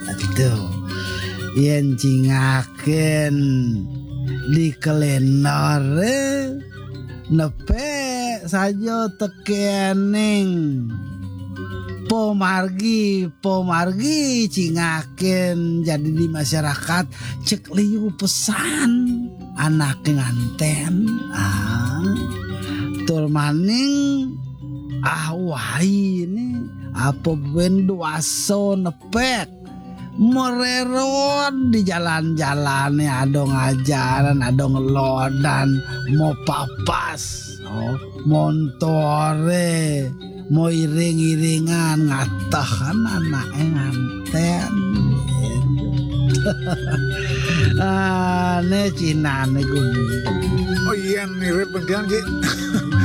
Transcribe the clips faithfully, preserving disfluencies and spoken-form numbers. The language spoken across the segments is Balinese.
Aduh, yen cingaken di kalendere nepe saja tekening pomargi, pomargi cingaken jadi di masyarakat cek liu pesan anake nganten. Ah, tur maning ah wai ini apa ben duaso nepek mererot di jalan-jalane, ada ngajaran, ada ngelodan, mau papas, oh, montore, mau iring-iringan, ngatehan anake nganten. Ah, ne Cina ne gumi. Oh iya, mirip pendian, Ji.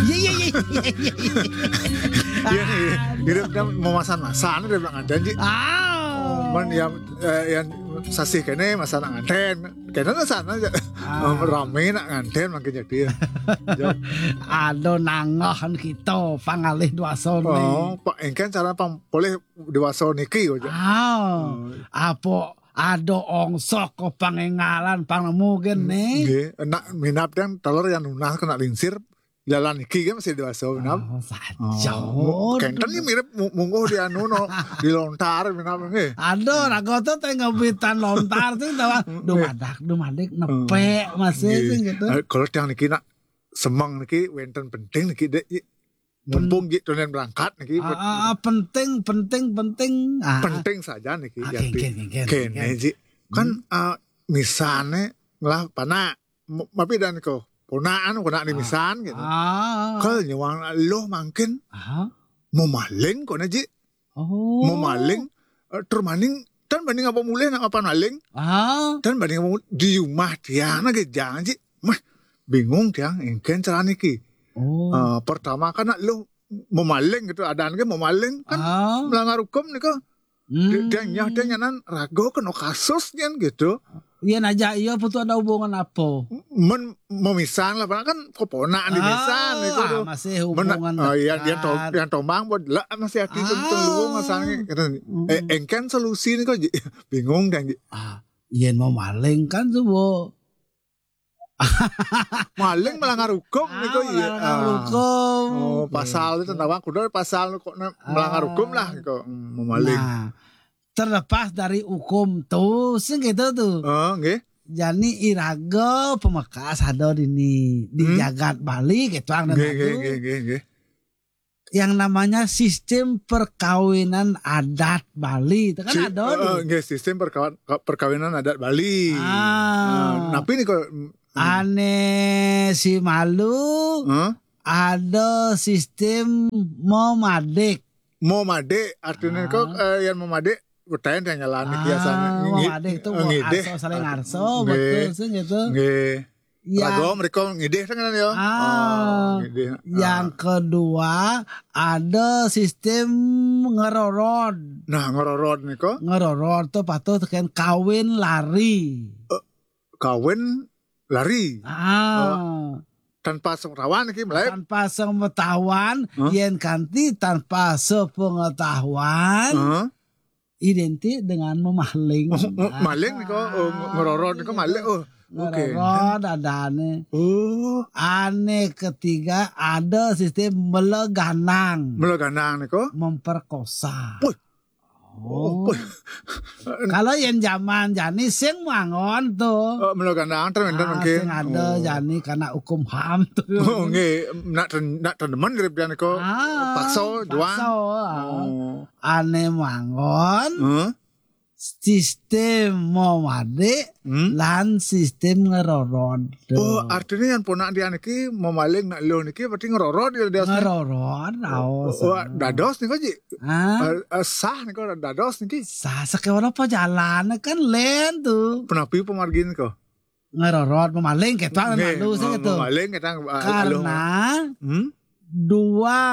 Iya, iya, iya, iya, iya, iya. Iya, iya. Mirip kan mau masan-masan, dia bilang ada, Ji. Ah. Man, ya, eh, yang sasih kene masa nak nganten. Kene lah sana aja. Ah. Rame nak nganten makin jadi. Ya. Ada nangahan kita pangalih duaso ne. Oh, Pak, engken cara pang boleh duaso niki aja. Ah. Hmm. Apa ada ongsok ke pangengalan pang nemu gen ne? Nggih, nak minap yang telur yang nunas kena lingsir, jalan iki kan masih duaso minap. Oh, saja. Oh, kenten ni mirip mu-, mungguh di anu no, di lontar minap nggih. Aduh, raga tu teh ngabitan lontar tu tawa. Dumadak, dumadik, nepek masih sing gitu. Eh, kalau tiang niki nak semeng niki wenten penting niki, Dek. Mumpung Ji tunen berangkat niki. Ah, ah, ah, penting, penting, penting. Ah. Penting saja niki, ah, Yati. Kene, kene, kene, kene, kene. Ji. Kan, ah, misane ngelah panak. M-, mapi dan ko, ponaan, ponaan di misan gitu. Ah. Kal nyuang lo mangkin. Aha. Mau maling kok ne, Ji. Oh. Mau maling, eh, tur maning, tan banding apa mulih nak apa maling. Ah. Tan banding apa mulih, di rumah tiang lagi jangan, Ji. Mah, bingung tiang, engken cara niki. Oh. Eh, pertama kan nak lo mau maling gitu, adaan ke mau maling kan melanggar hukum nih kok. Hmm. Dia, dia nyah, dia nyanan rago kena kasus kan gitu. Iya, aja iya, apa tu ada hubungan apa? Men-, memisan lah, padahal kan keponakan di misan itu tuh. Ah, masih hubungan dekat. Oh, iya, dia to-, yang tomang buat lah masih hati tuh luwung asalnya. Kata, eh, engken solusi nih kok, Ji. Bingung kan, Ji. Ah, yen mau maling kan tuh, Bu. Maling melanggar hukum nih kok, iya. Ah, melanggar hukum. Oh, pasal itu tentang kudu pasal kok melanggar hukum lah kok, hmm, mau maling. Nah, terlepas dari hukum tuh, sing gitu tuh. Oh, nggih. Jani iraga pemekas ada dini di jagat Bali gitu, nggih, nggih, nggih, nggih. Yang namanya sistem perkawinan adat Bali itu kan ada tuh. Eh, nggih, sistem perkawan-, perkawinan adat Bali. Ah. Nah, napi nih kok, mm, ane si malu, ada sistem memadik. Memadik, artinya kok, eh, yang memadik, bertanya yang jalan niki asal. Ah, ngi-, memadik itu eh, ngidih. Arso, saling arso, betul sih gitu. Nggih. Raga mereka ngidih kan ya? Ah, oh, ngidih. Yang kedua, ada sistem ngerorod. Nah, ngerorod nih kok. Ngerorod tuh patuh tekan kawin lari. Eh, kawin lari. Ah. Oh. Tanpa sepengetahuan iki, mulai. Tanpa sepengetahuan, yen kanti tanpa sepengetahuan, identik dengan memaling. Oh, maling nih kok, oh, ngerorod nih kok maling. Oh, oke. Ngerorod adane. Oh. Ane ketiga ada sistem meleganang. Meleganang nih kok. Memperkosa. Wih. Oh. Kalau yang zaman jani sing mangon tuh. Oh, meleganang terus enten mungkin. Sing ada jani karena hukum ham tuh. Oh, nggih, nak ten-, nak tenemen grip dia nih kok. Ah, paksa, juang. Paksa. Oh. Ane mangon. Huh? Sistem mau made lan sistem ngerorod. Oh, artinya yang ponak dia niki mau maling nak lo niki berarti ngerorod ya dia. Ngerorod, oh, dados nih kok, Ji. Ah. Eh, eh, sah nih kok dados niki. Sah sakewara apa jalan kan len tuh. Penapi pemargin kok. Ngerorod, memaling kita lalu sih gitu. Memaling kita, eh, karena dua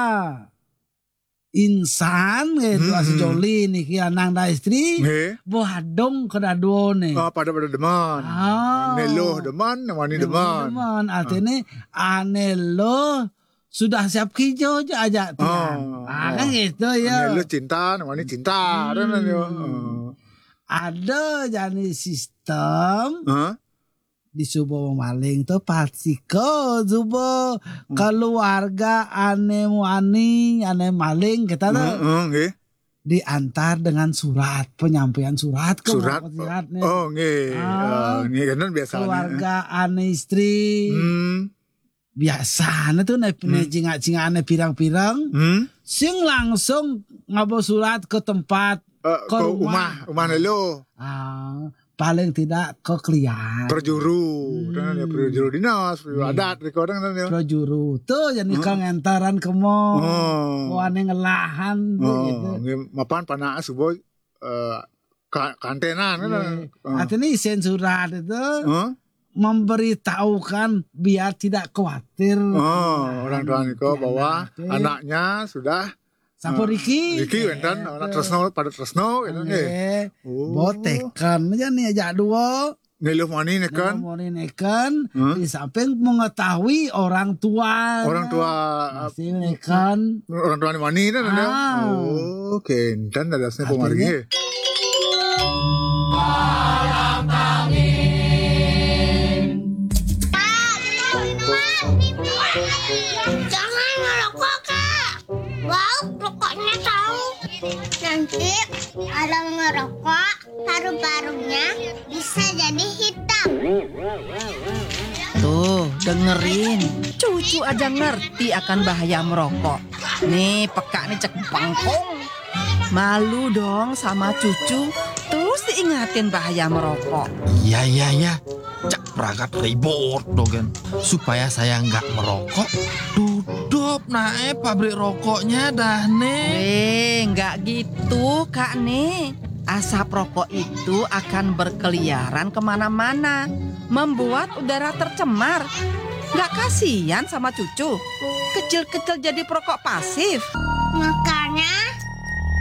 insan gitu, hmm, sejoli niki lanang dan istri, nggih, boh adung kedaduane. Oh, pada-pada demen. Ah. Ane loh demen, ane wani demen. Demen, artine ane loh sudah siap kijo aja, aja tiang. Ah, kan gitu ya. Lu cinta, namanya cinta, kan, ya. Hmm. Ada jani sistem di subo maling tuh, pasti ke subo keluarga ane wani, ane maling kita tuh. Heeh, nggih. Diantar dengan surat, penyampaian surat ke surat. Oh, nggih. Ah, nggih, kan biasanya. Keluarga ane istri. Hmm. Biasanya tuh nek, hmm, jingak-jingak ane pirang-pirang. Hmm. Sing langsung ngabo surat ke tempat, eh, ke rumah, rumah lelo. Ah, paling tidak ke klian. Perjuru, hmm, kan ya, perjuru dinas, perjuru adat, riko kan ya. Perjuru tuh jadi, hmm, kangentaran kemo. Oh. Wane ngelahan tuh gitu. Nggih, mapan panake subo, eh, ka-, kantenan kan. Iya. Oh. Artinya isin surat itu, huh? Memberitahukan biar tidak khawatir. Oh, orang tua niko bahwa anaknya sudah sampun, eh, riki. Riki, gitu. Wenten, anak tresno, pada tresno, gitu, nggih. Nggih. Oh. Botekan aja nih, ajak dua. Niluh mani neken. Niluh mani neken, hmm, di samping mengetahui orang tua. Orang tua. Masih neken. Orang tua mani kan ada. Ah. Oh, oke. Dan dadasnya pemargi. Artinya? Jangan merokok, Kak. Bau rokoknya tahu. Nanti orang merokok, paru-parunya bisa jadi hitam. Tuh, dengerin. Cucu aja ngerti akan bahaya merokok. Nih, peka nih cek bangkong. Malu dong sama cucu. Terus diingatin bahaya merokok. Iya, iya, iya. Cak pragat ribut dogen. Supaya saya nggak merokok, tutup nae pabrik rokoknya dah, nih. Eh, nggak gitu, Kak, nih. Asap rokok itu akan berkeliaran kemana-mana, membuat udara tercemar. Nggak kasihan sama cucu? Kecil-kecil jadi perokok pasif. Maka